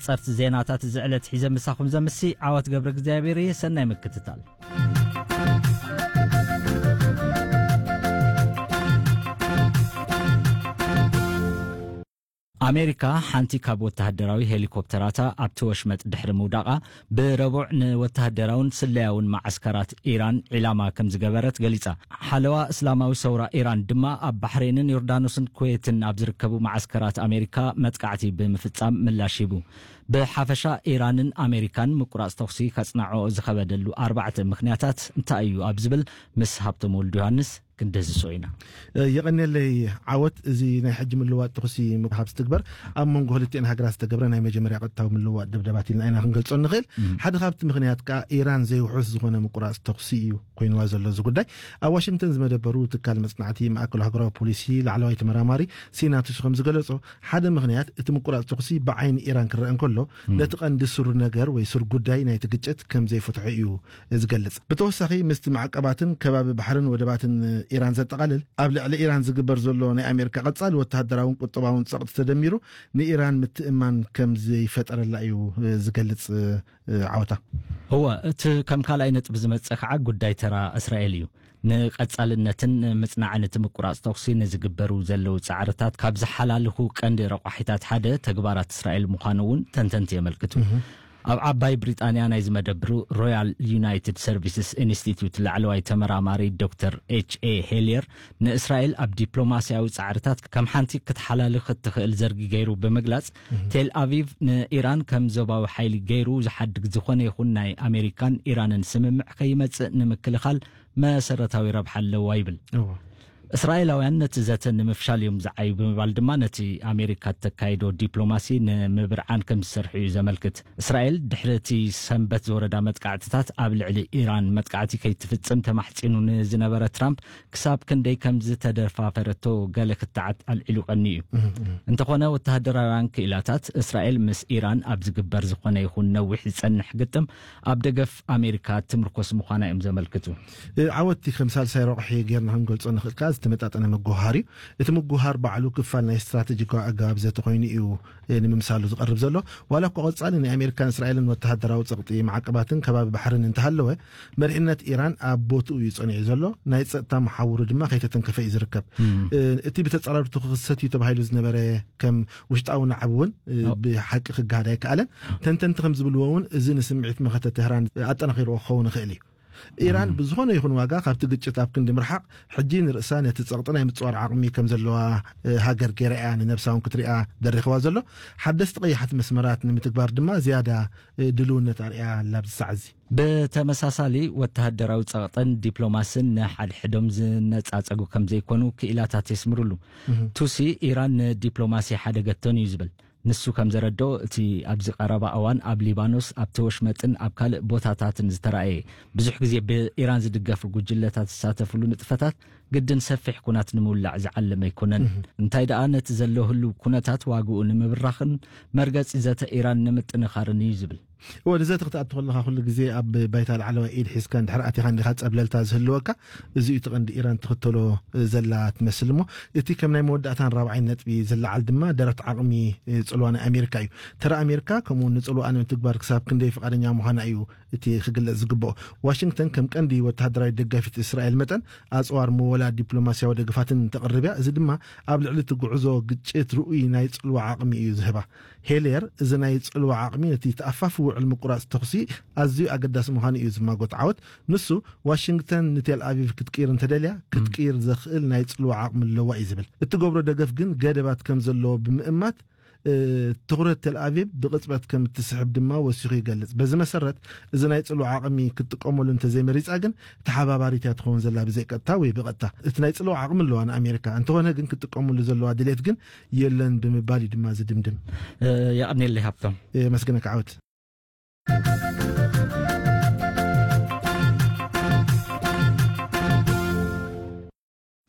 ጸርቲ ዜናታት እዚ ዕለት ሒዘ ምሳኹም ዘምሲ ዓወት ገብረ እግዚኣብሔር እየ። ሰናይ ምክትታል። ኣሜሪካ ሓንቲ ካብ ወተሃደራዊ ሄሊኮፕተራታ ኣብቲ ወሽመጥ ድሕሪ ምውዳቓ፣ ብረቡዕ ንወተሃደራውን ስለያውን መዓስከራት ኢራን ዒላማ ከም ዝገበረት ገሊጻ። ሓለዋ እስላማዊ ሰውራ ኢራን ድማ ኣብ ባሕሬንን ዮርዳኖስን ኩዌትን ኣብ ዝርከቡ መዓስከራት ኣሜሪካ መጥቃዕቲ ብምፍጻም ምላሽ ሂቡ። ብሓፈሻ ኢራንን ኣሜሪካን ምቁራጽ ተኹሲ ከጽናዕኦ ዝኸበደሉ ኣርባዕተ ምኽንያታት እንታይ እዩ ኣብ ዝብል ምስ ሃብቶም ወልዱ ዮሃንስ ክንደዝሶ ኢና። እ፣ የቐንየለይ ዓወት። እዚ ናይ ሕጂ ምልዋጥ ተኹሲ ምሃብ ዝትግበር ኣብ መንጎ ክልቲኤን ሃገራት ዝተገብረ ናይ መጀመርያ ቀጥታዊ ምልዋጥ ደብዳባት ኢልና ኢና ክንገልጾ ንኽእል። ሓደ ካብቲ ምኽንያት ከኣ ኢራን ዘይውሑስ ዝኾነ ምቁራጽ ተኹሲ እዩ ኮይንዋ ዘሎ። እዚ ጉዳይ ኣብ ዋሽንግተን ዝመደበሩ ትካል መጽናዕቲ ማእከሉ ሃገራዊ ፖሊሲ ላዕለዋይ ተመራማሪ ሲናቱስ ከም ዝገለጾ፣ ሓደ ምኽንያት እቲ ምቁራጽ ተኹሲ ብዓይኒ ኢራን ክረአ እንከሎ፣ ነቲ ቀንዲ ስሩ ነገር ወይ ስር ጉዳይ ናይቲ ግጭት ከም ዘይፈትሖ እዩ ዝገልጽ። ብተወሳኺ ምስቲ ማዕቀባትን ከባቢ ባሕርን ወደባትን ኢራን ዘጠቓልል ኣብ ልዕሊ ኢራን ዝግበር ዘሎ ናይ ኣሜሪካ ቀጻሊ ወተሃደራውን ቁጠባውን ጸቕጢ ተደሚሩ ንኢራን ምትእማን ከም ዘይፈጠረላ እዩ ዝገልጽ። ዓወታ። እወ፣ እቲ ከም ካልኣይ ነጥቢ ዝመጽእ ከዓ ጉዳይ ተራ እስራኤል እዩ። ንቐጻልነትን ምጽናዕን እቲ ምቁራጽ ተኹሲ ንዝግበሩ ዘለዉ ጻዕርታት ካብ ዝሓላልኹ ቀንዲ ረቋሒታት ሓደ ተግባራት እስራኤል ምዃኑ እውን ተንተንቲ የመልክቱ። ኣብ ዓባይ ብሪጣንያ ናይ ዝመደብሩ ሮያል ዩናይትድ ሰርቪስስ ኢንስቲትዩት ላዕለዋይ ተመራማሪ ዶክተር ኤች ኤ ሄልየር፣ ንእስራኤል ኣብ ዲፕሎማስያዊ ጻዕርታት ከም ሓንቲ ክትሓላልኽ እትኽእል ዘርጊ ገይሩ ብምግላጽ፣ ቴል ኣቪቭ ንኢራን ከም ዞባዊ ሓይሊ ገይሩ ዝሓድግ ዝኾነ ይኹን ናይ ኣሜሪካን ኢራንን ስምምዕ ከይመጽእ ንምክልኻል መሰረታዊ ረብሓ ኣለዋ ይብል። እስራኤላውያን ነቲ ዘተ ንምፍሻል እዮም ዝዓዩ ብምባል ድማ ነቲ ኣሜሪካ እተካይዶ ዲፕሎማሲ ንምብርዓን ከም ዝሰርሑ እዩ ዘመልክት። እስራኤል ድሕሪ እቲ ሰንበት ዝወረዳ መጥቃዕትታት ኣብ ልዕሊ ኢራን መጥቃዕቲ ከይትፍጽም ተማሕጺኑ ንዝነበረ ትራምፕ ክሳብ ክንደይ ከም ዝተደፋፈረቶ ገለ ክትዓት ኣልዒሉ ቀኒ እዩ። እንተኾነ ወተሃደራውያን ክኢላታት እስራኤል ምስ ኢራን ኣብ ዝግበር ዝኾነ ይኹን ነዊሕ ዝጸንሕ ግጥም ኣብ ደገፍ ኣሜሪካ ትምርኮስ ምዃና እዮም ዘመልክቱ። እ፣ ዓወቲ ከም ሳልሳይ ረቑሒ ጌርና ክንገልጾ ንኽእል ከኣ ዝተመጣጠነ ምጉሃር እዩ። እቲ ምጉሃር ባዕሉ ክፋል ናይ ስትራቴጂካዊ ኣገባብ ዘተ ኮይኑ እዩ፣ እ፣ ንምምሳሉ ዝቐርብ ዘሎ። ዋላ እኳ ቀጻሊ ናይ ኣሜሪካን እስራኤልን ወተሃደራዊ ጸቕጢ፣ ማዕቀባትን ከባቢ ባሕርን እንተሃለወ፣ መሪሕነት ኢራን ኣብ ቦትኡ እዩ ጸኒዑ ዘሎ። ናይ ጸጥታ መሓውሩ ድማ ከይተተንከፈ እዩ ዝርከብ። እ፣ እቲ ብተጻራርቱ ክኽሰት እዩ ተባሂሉ ዝነበረ ከም ውሽጣዊ ናዕቢ እውን፣ እ፣ ብሓቂ ክገሃድ ኣይከኣለን። ተንተንቲ ከም ዝብልዎ እውን እዚ ንስምዒት መኸተ ተህራን ኣጠናኺርዎ ክኸውን ይኽእል እዩ። ኢራን ብዝኾነ ይኹን ዋጋ ካብቲ ግጭት ኣብ ክንዲ ምርሓቕ፣ ሕጂ ንርእሳ ነቲ ጸቕጢ ናይ ምጽዋር ዓቕሚ ከም ዘለዋ፣ እ፣ ሃገር ገይራ እያ ንነብሳ እውን ክትሪኣ ደሪኽዋ ዘሎ። ሓደስቲ ቀያሕቲ መስመራት ንምትግባር ድማ ዝያዳ፣ እ፣ ድልውነት ኣርእያ ኣላ ኣብዚ ሰዓት እዚ። ብተመሳሳሊ፣ ወተሃደራዊ ጸቕጥን ዲፕሎማስን ንሓድሕዶም ዝነጻጸጉ ከም ዘይኮኑ ክኢላታት የስምሩሉ። ቱሲ፣ ኢራን ንዲፕሎማሲ ሓደገቶን እዩ ዝብል። ንሱ ከም ዘረድኦ፣ እቲ ኣብዚ ቀረባ እዋን ኣብ ሊባኖስ፣ ኣብቲ ወሽመጥን ኣብ ካልእ ቦታታትን ዝተራእየ፣ ብዙሕ ግዜ ብኢራን ዝድገፉ ጉጅለታት ዝሳተፍሉ ንጥፈታት፣ ግድን ሰፊሕ ኩናት ንምውላዕ ዝዓለመ ኣይኮነን። እንታይ ደኣ፣ ነቲ ዘሎ ህሉው ኩነታት ዋግኡ ንምብራኽን መርገጺ ዘተ ኢራን ንምጥንኻርን እዩ ዝብል። እወ፣ ንዘተ ክትኣቱ ከለኻ ኩሉ ግዜ ኣብ ባይታ ላዕለዋይ ኢድ ሒዝካ እንድሕር ኣቲኻ እንዲኻ ጸብለልታ ዝህልወካ። እዚ እዩ እቲ ቀንዲ ኢራን ትኽተሎ ዘላ ትመስል። እሞ እቲ ከም ናይ መወዳእታን ራብዓይን ነጥቢ ዝለዓል ድማ ደረት ዓቕሚ፣ እ፣ ጽልዋ ናይ ኣሜሪካ እዩ። ተራ ኣሜሪካ ከምኡ እውን ንጽልዋኣ ንምትግባር ክሳብ ክንደይ ፍቓደኛ ምዃና እዩ እቲ ክግለጽ ዝግብኦ። ዋሽንግተን ከም ቀንዲ ወተሃደራዊ ደጋፊት እስራኤል መጠን ኣጽዋር ምወላ ዲፕሎማስያዊ ደገፋትን ተቕርብ እያ። እዚ ድማ ኣብ ልዕሊ እቲ ጉዕዞ ግጭት ርኡይ ናይ ጽልዋ ዓቕሚ እዩ ዝህባ። ሄልየር፣ እዚ ናይ ጽልዋ ዓቕሚ ነቲ ተኣፋፊ ውዕል ምቁራጽ ተኹሲ ኣዝዩ ኣገዳሲ ምዃኑ እዩ ዝማጎት ዓወት። ንሱ፣ ዋሽንግተን ንቴል ኣቪቭ ክትቅይር እንተደልያ፣ ክትቅይር ዘኽእል ናይ ጽልዋ ዓቕሚ ኣለዋ እዩ ዝብል። እትገብሮ ደገፍ ግን ገደባት ከም ዘለዎ ብምእማት፣ እ፣ ትኹረት ቴል ኣቪቭ ብቕጽበት ከም እትስሕብ ድማ ወሲኹ ይገልጽ። በዚ መሰረት፣ እዚ ናይ ጽልዋ ዓቕሚ ክትጥቀመሉ እንተዘይመሪጻ ግን፣ ተሓባባሪት እያ ትኸውን ዘላ ብዘይቀጥታ ወይ ብቐጥታ። እቲ ናይ ጽልዋ ዓቕሚ ኣለዋ ንኣሜሪካ፣ እንተኾነ ግን ክትጥቀመሉ ዘለዋ ድሌት ግን የለን ብምባል እዩ ድማ ዝድምድም። እ፣ የቐንየለይ ሃብቶም። የመስግነካ ዓወት።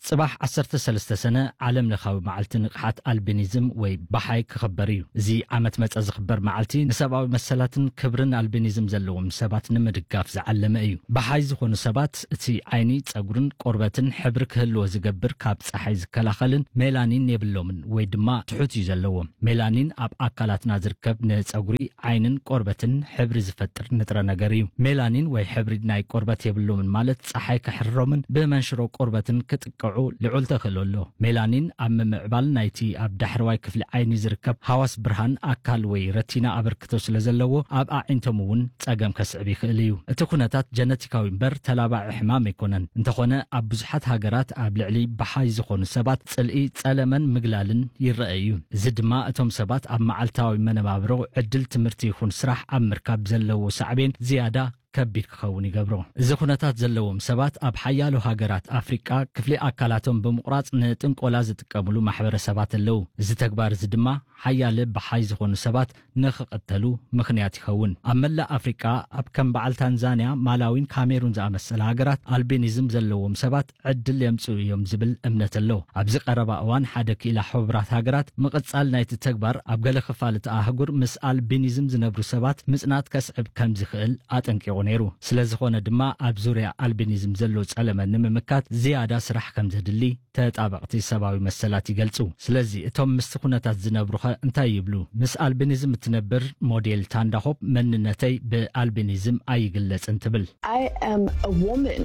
ጽባሕ ዓሰርተ ሰለስተ ሰነ ዓለም ለኻዊ መዓልቲ ንቕሓት ኣልቢኒዝም ወይ ባሓይ ክኽበር እዩ። እዚ ዓመት መጸ ዝኽበር መዓልቲ ንሰብኣዊ መሰላትን ክብርን ኣልቢኒዝም ዘለዎም ሰባት ንምድጋፍ ዝዓለመ እዩ። ባሓይ ዝኾኑ ሰባት እቲ ዓይኒ፣ ጸጉርን ቆርበትን ሕብሪ ክህልዎ ዝገብር ካብ ጸሓይ ዝከላኸልን ሜላኒን የብሎምን ወይ ድማ ትሑት እዩ ዘለዎም። ሜላኒን ኣብ ኣካላትና ዝርከብ ንጸጉሪ፣ ዓይንን ቆርበትን ሕብሪ ዝፈጥር ንጥረ ነገር እዩ። ሜላኒን ወይ ሕብሪ ናይ ቆርበት የብሎምን ማለት ጸሓይ ከሕርሮምን ብመንሽሮ ቆርበትን ክጥቀዑ ልዑል ተኽእሎ ኣሎ። ሜላኒን ኣብ ምምዕባል ናይቲ ኣብ ዳሕረዋይ ክፍሊ ዓይኒ ዝርከብ ሃዋስ ብርሃን ኣካል ወይ ረቲና ኣበርክቶ ስለ ዘለዎ ኣብ ኣዒንቶም እውን ጸገም ከስዕብ ይኽእል እዩ። እቲ ኩነታት ጀነቲካዊ እምበር ተላባዒ ሕማም ኣይኮነን። እንተኾነ ኣብ ብዙሓት ሃገራት ኣብ ልዕሊ ባሓይ ዝኾኑ ሰባት ጽልኢ፣ ጸለመን ምግላልን ይረአ እዩ። እዚ ድማ እቶም ሰባት ኣብ መዓልታዊ መነባብሮ ዕድል ትምህርቲ ይኹን ስራሕ ኣብ ምርካብ ዘለዎ ሳዕቤን ዝያዳ ከቢድ ክኸውን ይገብሮ። እዚ ኩነታት ዘለዎም ሰባት ኣብ ሓያሎ ሃገራት ኣፍሪቃ ክፍሊ ኣካላቶም ብምቑራጽ ንጥንቆላ ዝጥቀምሉ ማሕበረሰባት ኣለዉ። እዚ ተግባር እዚ ድማ ሓያለ ባሓይ ዝኾኑ ሰባት ንኽቐተሉ ምኽንያት ይኸውን። ኣብ መላእ ኣፍሪቃ ኣብ ከም በዓል ታንዛንያ፣ ማላዊን ካሜሩን ዝኣመሰላ ሃገራት ኣልቢኒዝም ዘለዎም ሰባት ዕድል የምጽኡ እዮም ዝብል እምነት ኣሎ። ኣብዚ ቀረባ እዋን ሓደ ክኢላ ሕቡራት ሃገራት ምቕጻል ናይቲ ተግባር ኣብ ገለ ክፋል እቲ ኣህጉር ምስ ኣልቢኒዝም ዝነብሩ ሰባት ምጽናት ከስዕብ ከም ዝኽእል ኣጠንቂቑ ነይሩ። ስለ ዝኾነ ድማ ኣብ ዙርያ ኣልቢኒዝም ዘሎ ጸለመ ንምምካት ዝያዳ ስራሕ ከም ዘድሊ ተጣበቕቲ ሰብኣዊ መሰላት ይገልጹ። ስለዚ እቶም ምስቲ ኩነታት ዝነብሩኸ እንታይ ይብሉ? ምስ ኣልቢኒዝም እትነብር ሞዴል ታንዳኾፕ መንነተይ ብኣልቢኒዝም ኣይግለጽን ትብል። I am a woman.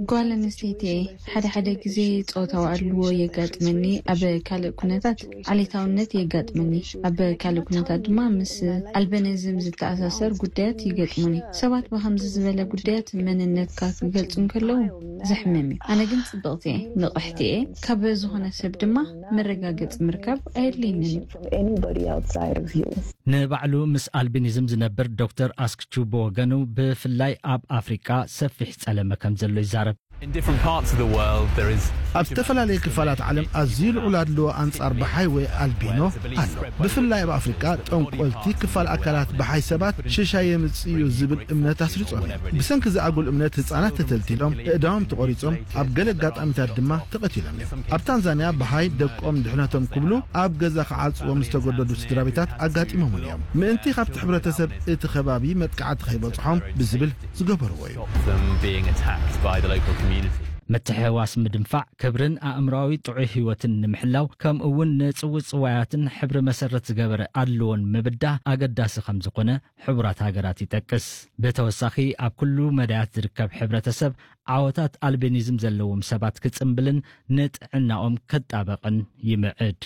ጓል ኣንስተይቲ እየ። ሓደ ሓደ ግዜ ጾታዊ ኣድልዎ የጋጥመኒ፣ ኣብ ካልእ ኩነታት ዓሌታውነት የጋጥመኒ። ኣብ ካልእ ኩነታት ድማ ምስ ኣልቢኒዝም ዝተኣሳሰር ጉዳያት ይገጥሙኒ። ሰባት ብኸምዚ ዝበለ ጉዳያት መንነትካ ክገልጹ እንከለዉ ዘሕምም እዩ። ኣነ ግን ጽብቕቲ እየ፣ ንቕሕቲ እየ። ካብ ዝኾነ ሰብ ድማ መረጋገጺ ምርካብ ኣየድልየንን እዩ። From anybody outside of you. ንባዕሉ ምስ ኣልቢኒዝም ዝነብር ዶክተር ኣስክቹ ብወገኑ፣ ብፍላይ ኣብ ኣፍሪቃ ሰፊሕ ጸለመ ከም ዘሎ ይዛረብ። In different parts of the world, there is ኣብ ዝተፈላለዩ ክፋላት ዓለም ኣዝዩ ልዑል ኣድልዎ ኣንጻር ባሓይ ወይ ኣልቢኖ ኣሎ። ብፍላይ ኣብ ኣፍሪቃ፣ ጠንቆልቲ ክፋል ኣካላት ባሓይ ሰባት ሽሻይ የምጽእ እዩ ዝብል እምነት ኣስሪጾም እዮም። ብሰንኪ እዚ ኣጉል እምነት ህጻናት ተተልቲሎም፣ እእዳዎም ተቖሪጾም፣ ኣብ ገለ ኣጋጣሚታት ድማ ተቐቲሎም እዮም። ኣብ ታንዛንያ፣ ባሓይ ደቆም ድሕነቶም ክብሉ ኣብ ገዛ ክዓጽዎም ዝተገደዱ ስድራ ቤታት ኣጋጢሞምን እዮም። ምእንቲ ካብቲ ሕብረተሰብ እቲ ከባቢ መጥቃዕቲ ከይበጽሖም ብዝብል ዝገበርዎ እዩ። Stop them being attacked by the local community. ምትሕውዋስ ምድንፋዕ፣ ክብርን ኣእምሮኣዊ ጥዑይ ህይወትን ንምሕላው፣ ከምኡ እውን ንጽውጽዋያትን ሕብሪ መሰረት ዝገበረ ኣድልዎን ምብዳህ ኣገዳሲ ከም ዝኾነ ሕቡራት ሃገራት ይጠቅስ። ብተወሳኺ፣ ኣብ ኩሉ መዳያት ዝርከብ ሕብረተሰብ ዓወታት ኣልቢኒዝም ዘለዎም ሰባት ክጽምብልን ንጥዕናኦም ክጣበቕን ይምዕድ።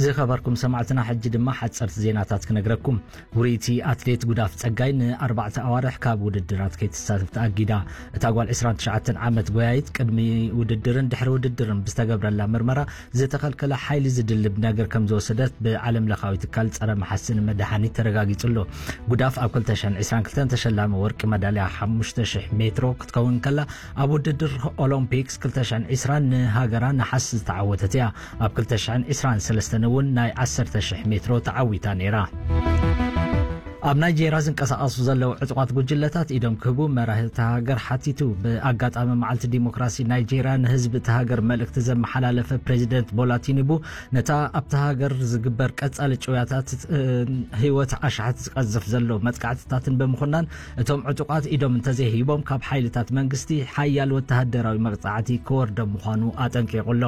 ዝኸበርኩም ሰማዕትና፣ ሕጂ ድማ ሓጸርቲ ዜናታት ክነግረኩም። ውርይቲ ኣትሌት ጉዳፍ ጸጋይ ንኣርባዕተ ኣዋርሕ ካብ ውድድራት ከይትሳተፍ ተኣጊዳ። እታ ጓል ዕስራን ትሽዓተን ዓመት ጎያይት፣ ቅድሚ ውድድርን ድሕሪ ውድድርን ብዝተገብረላ ምርመራ፣ ዝተኸልከለ ሓይሊ ዝድልብ ነገር ከም ዝወሰደት ብዓለም ለኻዊ ትካል ጸረ መሓስን መድሃኒት ተረጋጊጹ ኣሎ። ጉዳፍ ኣብ ክልተ ሽሕን ዕስራን ክልተን ተሸላሚ ወርቂ መዳልያ ሓሙሽተ ሽሕ ሜትሮ ክትከውን ከላ፣ ኣብ ውድድር ኦሎምፒክስ ክልተ ሽሕን ዕስራን ንሃገራ ነሓስ ዝተዓወተት እያ። ኣብ ክልተ ሽሕን ዕስራን ሰለስተን እውን ናይ ዓሰርተ ሽሕ ሜትሮ ተዓዊታ ነይራ። ኣብ ናይጄርያ ዝንቀሳቐሱ ዘለዉ ዕጡቓት ጉጅለታት ኢዶም ክህቡ መራሒ እታ ሃገር ሓቲቱ። ብኣጋጣሚ መዓልቲ ዲሞክራሲ ናይጄርያ ንህዝቢ እታ ሃገር መልእኽቲ ዘመሓላለፈ ፕሬዚደንት ቦላ ቲኑቡ፣ ነታ ኣብታ ሃገር ዝግበር ቀጻሊ ጭውያታት፣ እ፣ ህይወት ኣሽሓት ዝቀዝፍ ዘሎ መጥቃዕትታትን ብምኹናን፣ እቶም ዕጡቓት ኢዶም እንተዘይሂቦም ካብ ሓይልታት መንግስቲ ሓያል ወተሃደራዊ መቕጻዕቲ ክወርዶም ምዃኑ ኣጠንቂቑ ኣሎ።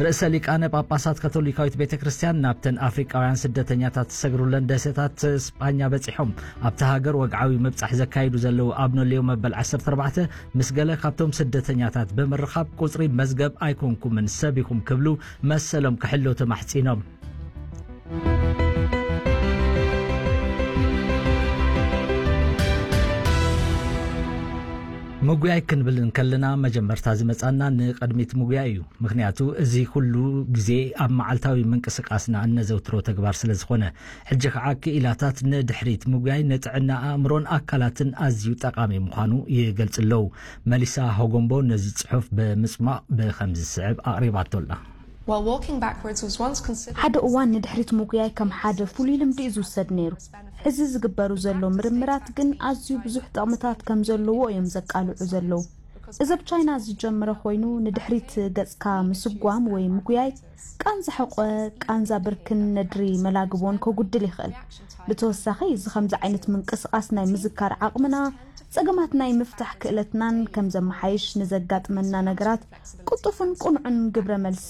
ርእሰ ሊቃነ ጳጳሳት ካቶሊካዊት ቤተ ክርስቲያን ናብተን ኣፍሪቃውያን ስደተኛታት ዝሰግሩለን ደሴታት ስጳኛ በጺሖም። ኣብታ ሃገር ወግዓዊ ምብጻሕ ዘካይዱ ዘለዉ ኣቡነ ሌዮ መበል ዓሰርተ ኣርባዕተ ምስ ገለ ካብቶም ስደተኛታት ብምርኻብ፣ ቁጽሪ መዝገብ ኣይኮንኩምን፣ ሰብ ኢኹም ክብሉ መሰሎም ክሕልዉ ተማሕጺኖም። ምጉያይ ክንብል እንከለና፣ መጀመርታ ዝመጻና ንቕድሚት ምጉያይ እዩ። ምኽንያቱ፣ እዚ ኩሉ ግዜ ኣብ መዓልታዊ ምንቅስቃስና እነዘውትሮ ተግባር ስለ ዝኾነ። ሕጂ ኸዓ፣ ክኢላታት ንድሕሪት ምጉያይ ንጥዕና ኣእምሮን ኣካላትን ኣዝዩ ጠቓሚ ምዃኑ ይገልጽ ኣለዉ። መሊሳ ሆጎምቦ ነዚ ጽሑፍ ብምጽማቕ ብኸምዚ ዝስዕብ ኣቕሪባቶ ኣላ። While walking backwards was once considered ሓደ እዋን ንድሕሪት ምጉያይ ከም ሓደ ፍሉይ ልምዲ እዩ ዝውሰድ ነይሩ። ሕዚ ዝግበሩ ዘሎ ምርምራት ግን ኣዝዩ ብዙሕ ጥቕምታት ከም ዘለዎ እዮም ዘቃልዑ ዘለዉ። እዚ ኣብ ቻይና ዝጀመረ ኮይኑ ንድሕሪት ገጽካ ምስጓም ወይ ምጉያይ ቃንዛ ሕቆ፣ ቃንዛ ብርክን ነድሪ መላግቦን ከጉድል ይኽእል። ብተወሳኺ እዚ ከምዚ ዓይነት ምንቅስቓስ ናይ ምዝካር ዓቕምና፣ ጸገማት ናይ ምፍታሕ ክእለትናን ከም ዘመሓይሽ ንዘጋጥመና ነገራት ቅጡፍን ቁኑዕን ግብረ መልሲ